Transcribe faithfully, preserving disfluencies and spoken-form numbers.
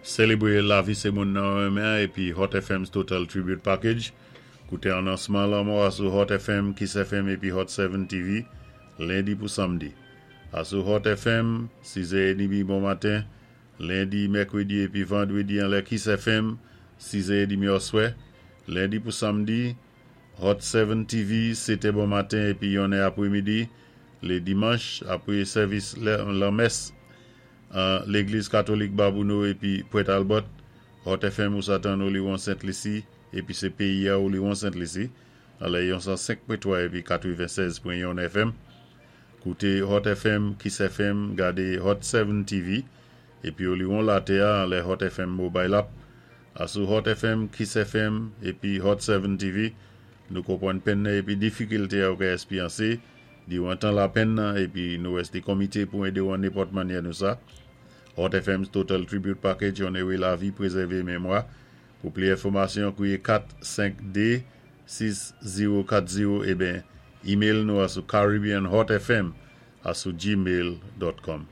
Sélébwé lavi sé moun nan renmen épi Hot F M's Total Tribute Package. Kouté anonsman lanmò asou Hot F M, Kiss F M épi Hot sept T V, lendi pou samdi. Asou Hot F M, sis è edmi bon maten, lendi, mèkwédi épi vandwédi anlè Kiss F M, sis è edmi oswè, lendi pou samdi, Hot sept T V, sèt è bon maten épi yonnè apwémidi, lé dimanch, apwé sèvis lanmès, légliz katolik Babonneau épi Pointe Albert, Hot F M ou sa tann Oliwon Sent Lisi, épi sé péyi-a Oliwon Sent Lisi, anlè yon san senk pwen twa épi katwennsèz pwen youn F M. Kouté Hot F M, Kiss F M, gadé Hot sept T V, épi Oliwon latè-a anlè Hot F M Mobile App. Asou Hot F M, Kiss F M, épi Hot sept T V, nou konpwann penn épi difikilté ou ka èspéryansé, diwan tan lapenn épi nou èsté komité pou édé ou an nenpòt mannyè nou sa. Hot F M's Total Tribute Package, onoré lavi, pwézèvé mémwa. Pou plis enfòmasyon, kwiyé kat senk dé sis zewo kat zewo ében email nou asou caribbeanhotfm asou gmail dot com.